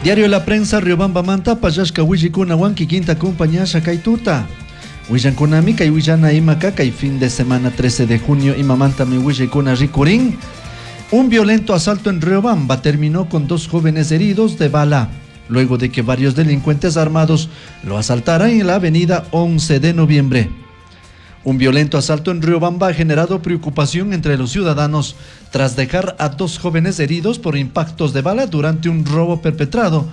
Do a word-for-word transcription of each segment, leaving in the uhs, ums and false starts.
Diario La Prensa Riobamba manta pallashka willaykunawan kikinta compañasha kay tuta. Willankunami kay willana imaka kay fin de semana trece de junio imamantami willaykuna rikurin. Un violento asalto en Riobamba terminó con dos jóvenes heridos de bala, luego de que varios delincuentes armados lo asaltaran en la avenida once de noviembre. Un violento asalto en Riobamba ha generado preocupación entre los ciudadanos tras dejar a dos jóvenes heridos por impactos de bala durante un robo perpetrado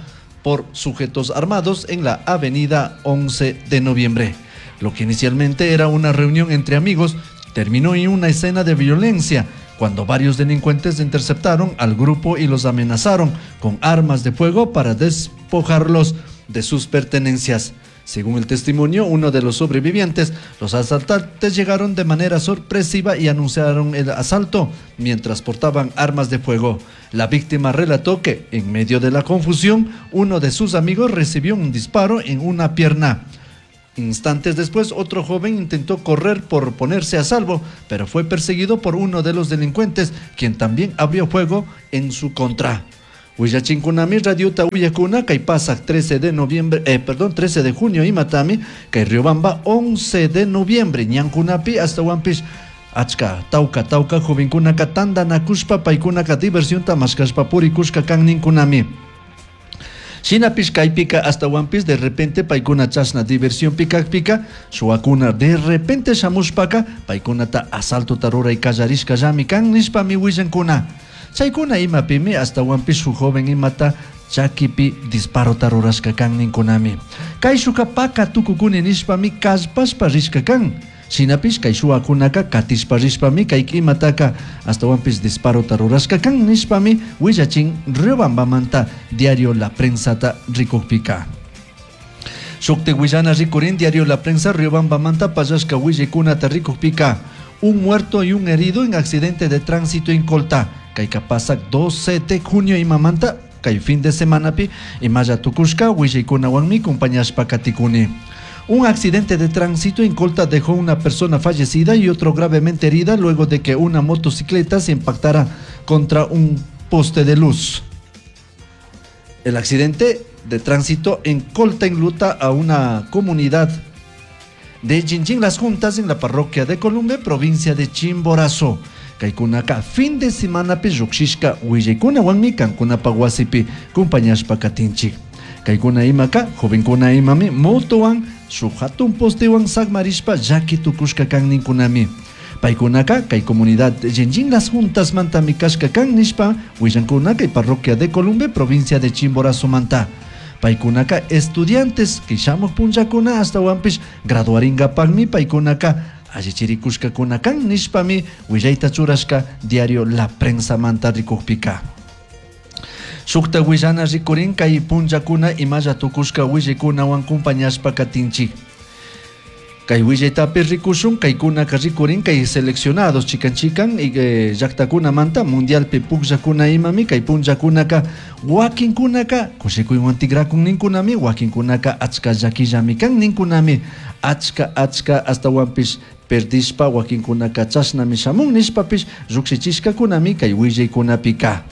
por sujetos armados en la avenida once de noviembre. Lo que inicialmente era una reunión entre amigos terminó en una escena de violencia cuando varios delincuentes interceptaron al grupo y los amenazaron con armas de fuego para despojarlos de sus pertenencias. Según el testimonio, uno de los sobrevivientes, los asaltantes llegaron de manera sorpresiva y anunciaron el asalto mientras portaban armas de fuego. La víctima relató que, en medio de la confusión, uno de sus amigos recibió un disparo en una pierna. Instantes después, otro joven intentó correr por ponerse a salvo, pero fue perseguido por uno de los delincuentes, quien también abrió fuego en su contra. Willachinkunami radiota uyakuna kay pasak trece de noviembre, eh, perdón, trece de junio imatami, kay Riobamba once de noviembre, ñankunapi hasta Huampish, achka, tauka, tauka, jovenkunaka tandanakushpa, paykunaka diversión mashkashpa purikushka kanninkunami. Shinapish kaypika hasta Huampish de repente paykuna chashna diversión pikakpika, shuwakuna de repente shamushpaka, paykunata asalto ruray kallarishka llami kan nishpami willankuna. Chaykuna imapimi hasta Huampish su joven imata chakipi disparo rurashka kan ninkunami. Kay shuka paka tukukuni nishpami kallpashpa rishka kan. Shinapish kay shuwakunaka katishpa rishpami kay imataka hasta Huampish disparo rurashka kan nishpami willachin Riobambamanta diario La Prensata rikukpika. Shukti willana rikurin diario La Prensa Riobambamanta pallashka willakunata rikukpika. Un muerto y un herido en accidente de tránsito en Colta. Kay kapasak doce de junio imamanta kay fin de semana pi imaya tukushka willaykunawanmi compañashpa katikuni. Un accidente de tránsito en Colta dejó una persona fallecida y otro gravemente herida luego de que una motocicleta se impactara contra un poste de luz. El accidente de tránsito en Colta enluta a una comunidad de Jinjin Las Juntas en la parroquia de Columbe, provincia de Chimborazo. Kaykunaka fin de semana pi lluqshishka willaykunawanmi kankunapa wasipi kumpañashpa katinchik. Kaykuna imaka jovenkuna imami motowan shuk hatun postewan sakmarishpa llaki tukushka kan ninkunami. Paykunaka kay comunidad Jinjin Las Juntas mantami kashka kan nishpa willankuna kay parroquia de Columbe, provincia de Chimborazo manta. Paykunaka estudiantes kay shamuq punllakuna hasta wampish graduaringapaqmi paykunaka allichirikushkakuna kan nishpami willayta churashka diario La Prensa manta rikukpika. Shukta willana rikurin kay punllakuna imalla tukushka willaykunawan kumpañashpa katinchik. Kay willaytapi rikushun kaykunaka rikurin kay seleccionados chikan chikan y, eh, llaqtakuna manta mundialpi pukllakuna imami kay punllakunaka wakinkunaka kushikuywan tikrakun ninkunami wakinkunaka achka llakillami kan ninkunami achka achka hasta wampish perdishpa wakinkunaka chashnami shamun nishpapish llukshichishkakunami kay willaykunapika.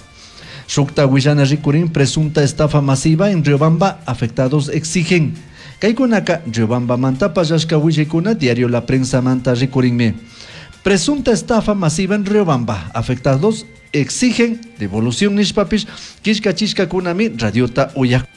Shukta willana rikurin presunta estafa masiva en Riobamba, afectados exigen. Kaykunaka Riobamba manta pallashka willaykuna diario La Prensa manta rikurinmi. Presunta estafa masiva en Riobamba, afectados exigen devolución nishpapish kishka chishkakunami radiota uyakuna.